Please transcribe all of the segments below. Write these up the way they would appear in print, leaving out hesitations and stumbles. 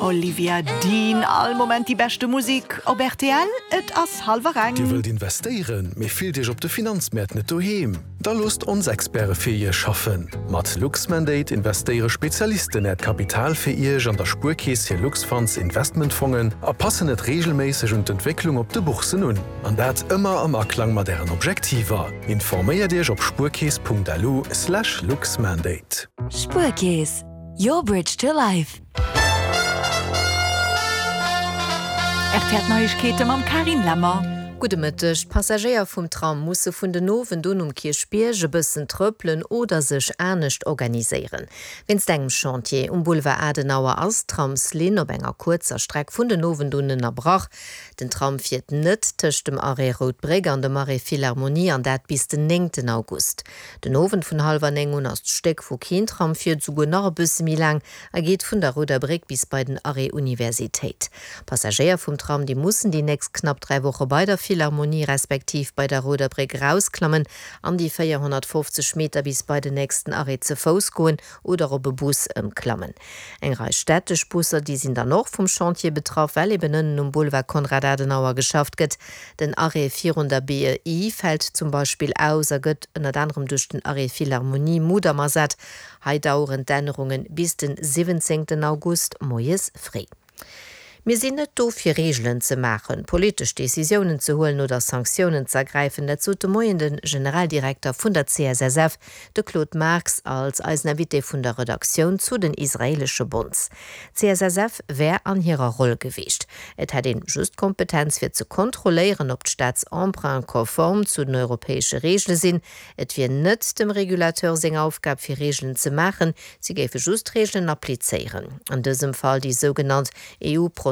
Olivia Dean, All Moment déi beschte Musik op rtl, et ass hallwer eng. Dir wëllt investéieren, mee fillt Iech op de Finanzmäert net doheem? Da loosst ons Experte fir Iech schaffen! Mat Luxmandate investéiere Spezialisten Äert Kapital fir Iech an der Spuerkeess hir Luxfunds Investmentfongen a passen et reegelméisseg un d'Entwécklung op de Bourssen un. An dat ëmmer am Aklang mat Ären Objektiver. Informéiert Iech op spuerkeess.lu slash luxmandate. Spuerkeess, your bridge to life. Rtl Neiegkeete mam Carine Lemmer. Gudde Mëtteg. D'Passagéier vum Tram musse vun den Owend un um Kierchbierg e bëssen trëppelen oder sech anescht organiséieren. Wéinst engem Chantier um Boulevard Adenauer ass d'Tramslinn op enger kuerzer Streck vun den Owend un ënnerbrach. Den Tram fiert net tëscht dem Arrêt Rout Bréck an dem Arrêt Philharmonie an dat bis den néngten August. Den Owend vun hallwer 9 un ass d'Stéck, wou keen Tram fiert, esouguer nach e bësse méi laang a geet vun der Rouder Bréck bis bei den Arrêt Universitéit. Passagéier vum Tram, déi mussen déi nächst knapp 3 Woche bei der Philharmonie respektiv bei der Rouder Bréck erausklammen an déi 450 Meter bis bei den nächsten Arrêt ze Fouss goen oder op e Bus ëmklammen. Eng Rei städtesch Busser, déi sinn dann och vum Chantier betraff, well eben ënnen um Boulevard Konrad Adenauer geschafft gëtt. Den Arrêt virun der BEI fält zum Beispill aus a gëtt ënnert anerem duerch den Arrêt Philharmonie Mudam ersat. Hei daueren d'Ännerunge bis den 17 August moies fréi. Mir sinn net do fir Reegelen ze maachen, politesch Decisiounen ze huelen oder Sanktiounen z'ergräifen. Dat sot de Moien de Generaldirekter vun der CSSF, de Claude Marx, als eisen Invité vun der Redaktioun zu den israeelesche Bonds. D'CSSF wär an hirer Roll gewiescht. Et hätt een just d'Kompetenz fir ze kontrolléieren, ob d'Staatsemprunte konform zu den europäesche Reegele sinn. Et wier net dem Regulateur seng Aufgab fir Reegelen ze maachen, si géife just d'Reegelen applizéieren. An dësem Fall déi sougenannt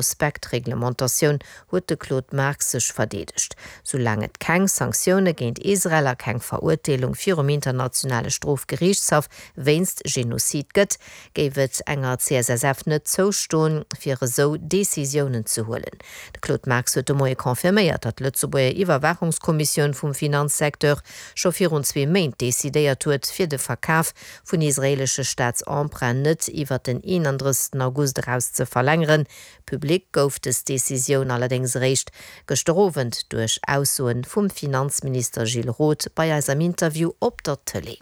EU-Prospektreglementatioun, huet de Claude Marx sech verdeedegt. Soulaang et keng Sanktioune géint Israel a keng Verurteelung virum internationale Strofgeriichtshaff wéinst Genozid gëtt, géif et enger CSSF net zoustoen, fir esou Decisiounen ze huelen. De Claude Marx huet de Moie confirméiert, datt d'Lëtzebuerger Iwwerwaachungskommissioun vum Finanzsecteur scho virun zwee Méint decidéiert huet, fir de Verkaf vun israeelesche Staatsemprunten net iwwer den 31 August eraus ze verlängeren. Public gouf dës Decisioun allerdéngs eréischt gëschter Owend duerch Aussoe vum Finanzminister Gilles Roth bei eis am Interview op der Tëlee.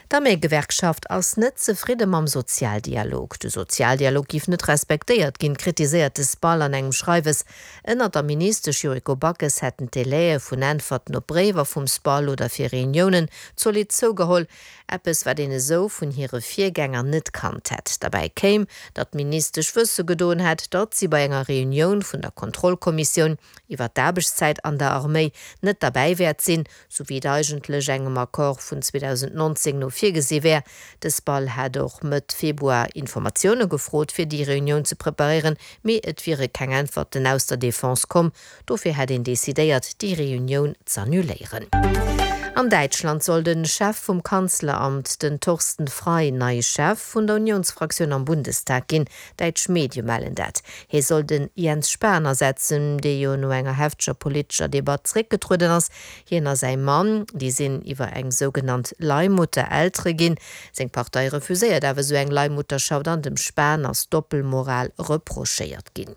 D'Arméigewerkschaft ass net zefridde mam Sozialdialog. De Sozialdialog giff net respektéiert ginn, kritiséiert de SPAL an engem Schreiwes. Ënnert der Ministesch Yuriko Backes hätten d'Delaie vun Äntwerten op Bréiwer vum SPAL oder fir Reuniounen zolidd zougeholl. Eppes, wat een esou vun hire Virgänger net kannt hätt. Derbäi kéim, datt d'Ministesch wësse gedoen hätt, datt si bei enger Reunioun vun der Kontrollkommissioun iwwer d'Aarbechtszäit an der Arméi net derbäi wäert sinn, sou wéi et eigentlech engem Accord vun 2019 no virgesi wär. De SPAL hätt och Mëtt Februar Informatioune gefrot, fir déi Reunioun ze preparéieren, mee et wiere keng Äntwerten aus der Defense komm. Dofir hätt een decidéiert, déi Reunioun z'annuléieren. An Däitschland soll de Chef vum Kanzleramt, den Thorsten Frei, neie Chef vun der Unionsfraktioun am Bundestag ginn. Däitsch Medie mellen dat. Hie soll den Jens Spahn ersetzen, dee jo no enger hefteger politescher Debatt zeréckgetrueden ass. Hien a säi Mann, déi sinn iwwer eng sougenannt Leihmutter Eltere ginn. Seng Partei refuséiert awer esou eng Leihmutterschaft an dem Spahn ass Doppelmoral reprochéiert ginn.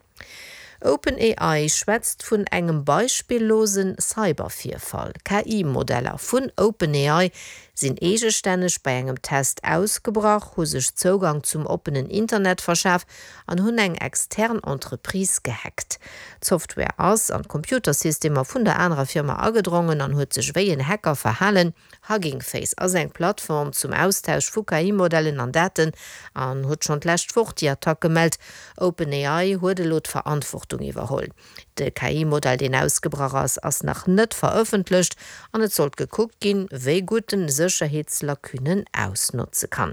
OpenAI schwätzt vun engem beispillose Cybervirfall. KI-Modeller vun OpenAI sinn eegestänneg bei engem Test ausgebrach, hu sech Zougang zum oppenen Internet verschaf an hunn eng extern Entreprise gehackt. D'Software ass an d'Computersystemer vun der anerer Firma agedrongen an huet sech wéi en Hacker verhalen. Hugging Face ass eng Plattform zum Austausch vu KI-Modellen an Daten an huet schonn d'lescht Woch déi Attack gemellt. OpenAI huet elo d'Verantwortung iwwerholl. De KI-Modell, deen ausgebrach ass, ass nach net verëffentlecht an et sollt gekuckt ginn, wéi gutt en Sécherheetslacunen ausnotze kann.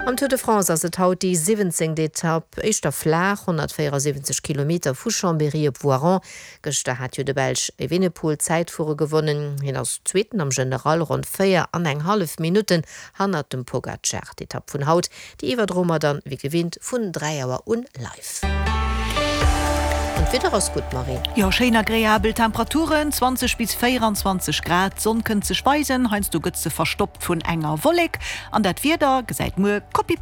Am Tour de France ass et haut déi 17. Etapp, éischter flaach, 174 Kilometer vu Chambéry op Voiron. Gëschter hat jo de Belsch Evenepoel d'Zäitfuere gewonnen. Hien ass Zweeten am General, ronn 4 an eng hallef Minutten hannert dem Pogacar. D'Etapp vun haut, déi iwwerdroe mer dann wéi gewinnt vun 3 Auer un live. An d'Wieder ass gutt, Marie. Jo, schéin agreabel Temperaturen, 20 bis 24 Grad. D'Sonn kënnt sech weisen, heiansdo gëtt se verstoppt vun enger Wollek. An dat Wieder gesäit muer copy-paste.